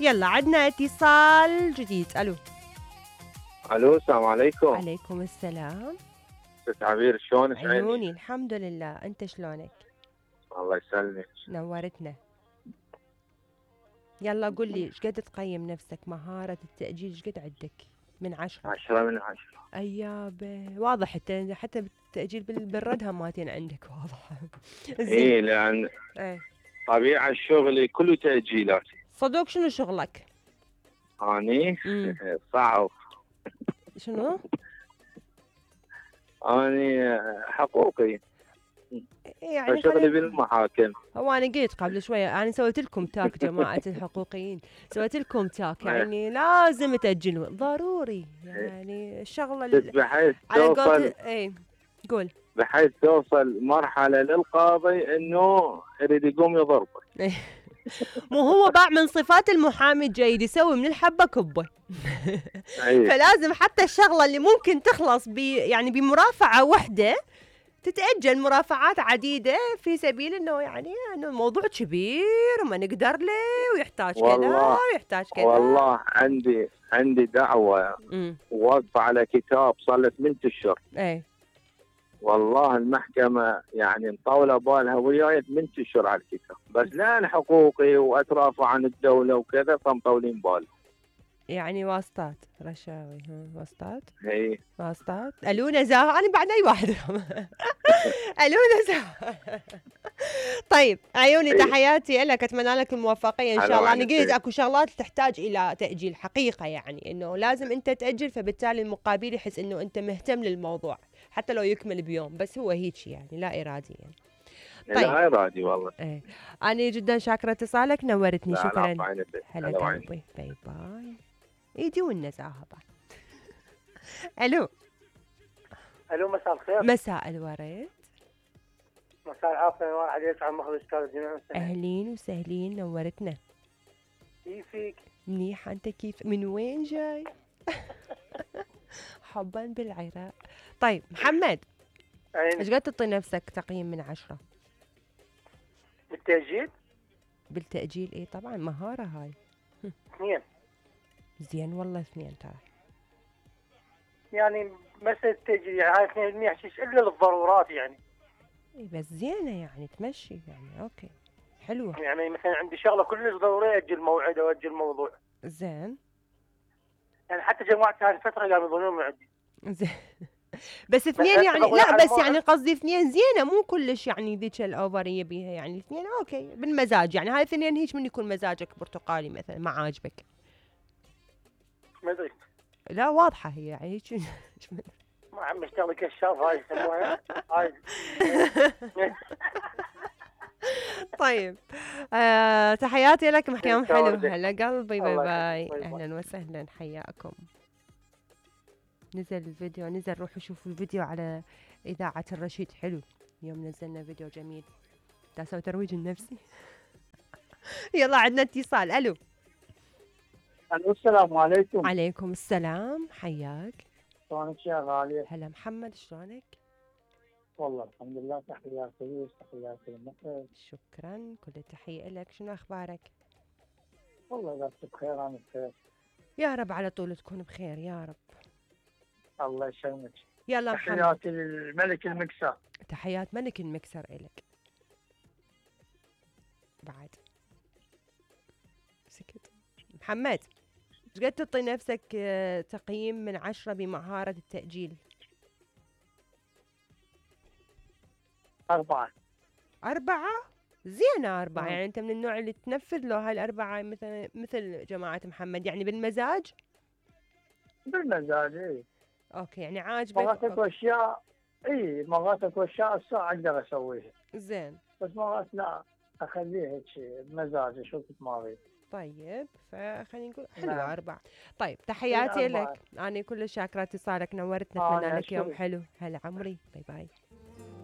يلا عندنا اتصال جديد. الو. الو السلام عليكم. عليكم السلام. ست عبير شلونك؟ عيوني الحمد لله، انت شلونك؟ الله يسلمك. نورتنا. يلا قل لي ايش قد تقيم نفسك مهارة التأجيل؟ ايش قد عندك من 10؟ 10 من 10. ايابه واضح حتى بالتأجيل بالرد هماتين عندك واضح. اي لان طبيعة شغلي كله تأجيلات. صدق شنو شغلك؟ اني صعب. شنو؟ اني حقوقي يعني شغلي بالمحاكم. هو انا قلت قبل شويه انا سويت لكم تاك جماعه الحقوقيين، سويت لكم تاك يعني لازم تاجلون ضروري، يعني الشغله بحيث على توصل قول بحيث توصل مرحله للقاضي انه يريد يقوم يضربك. مو هو باع من صفات المحامي الجيد يسوي من الحبه كبه. فلازم حتى الشغله اللي ممكن تخلص يعني بمرافعه واحده تتأجل مرافعات عديدة في سبيل انه يعني انه الموضوع كبير وما نقدر له ويحتاج كذا ويحتاج كذا. والله عندي دعوة وواقفة على كتاب صار له 8 اشهر. والله المحكمة يعني مطولة بالها وياي 8 اشهر على الكتاب، بس لان حقوقي واترافع عن الدولة وكذا فمطولين بالهم. يعني واسطات رشاوي واسطات. اي واسطات. الو نزاهة، انا بعد اي واحد. الو نزاهة. طيب عيوني تحياتي لك، اتمنى لك الموفقيه ان شاء الله. انا قلت اكو شغلات تحتاج الى تاجيل حقيقه، يعني انه لازم انت تاجل، فبالتالي المقابل يحس انه انت مهتم للموضوع حتى لو يكمل بيوم، بس هو هيك يعني لا ارادي يعني. طيب. لا ارادي والله. انا جدا شاكره اتصالك، نورتني. شكرا. هلا قلبي. باي باي. ايدي والنزاهه بعد. الو. الو مساء الخير. مساء الورد. مساء العافيه. واحد يسعد مخرج استاذ جميع. اهلين وسهلين، نورتنا. كيفك؟ منيحه، انت كيف؟ من وين جاي؟ حبا بالعراق. طيب محمد، ايش قد تعطي نفسك تقييم من 10؟ بالتأجيل؟ بالتأجيل ايه طبعا مهارة هاي. 2. زين والله 2 ترى. يعني مسألة التأجيل يعني هاي 2% حشيش الا للضرورات يعني. اي بس زينة يعني تمشي يعني اوكي حلوة. يعني مثلا عندي شغلة كلش ضرورية اجل موعد او اجل موضوع. زين. يعني حتى جماعتي هاي الفترة قاموا يظنون معدي. زين. بس 2 يعني لا بس يعني قصدي 2 زينة مو كلش يعني ذيك الاوفرية بيها، يعني 2 اوكي بالمزاج، يعني هاي 2 هيك من يكون مزاجك برتقالي مثلا ما عاجبك. ما ادري. لا واضحة هي يعني هيك. ما عم اشتغل كشاف هاي يسموها هاي. طيب تحياتي لك محكم حلو. هلا قلبي. باي باي. اهلا وسهلا حياكم. نزل الفيديو، نزل روحوا شوفوا الفيديو على إذاعة الرشيد، حلو يوم نزلنا فيديو جميل. تسوي ترويج النفسي. يلا عندنا اتصال. الو. الو السلام عليكم. عليكم السلام، حياك. شلونك يا غالية؟ هلا محمد شلونك؟ والله الحمد لله. تحياتي لك تحياتي للمخرج. شكرا، كل تحية لك. شنو اخبارك؟ والله بس بخير، انا بخير يا رب، على طول تكون بخير يا رب. الله يسلمك. يلا محمد. تحياتي للملك المكسر. تحيات ملك المكسر إلك بعد. سكت. محمد، ايش قد تعطي نفسك تقييم من 10 بمهارة التأجيل؟ 4. 4 زينة. 4 يعني أنت من النوع اللي تنفذ له هال4 مثل جماعة محمد، يعني بالمزاج؟ بالمزاج اي. اوكي يعني عاجبك. مرات اكو اشياء مرات اكو اشياء الساعة اقدر اسويها. زين. بس مرات لا، اخليها هيك بمزاج اشوف ما اريد. طيب فخلينا نقول حلوة 4. طيب تحياتي لك، أنا كل شاكرة اتصالك، نورتنا، أتمنى لك يوم حلو. هلا عمري. باي باي.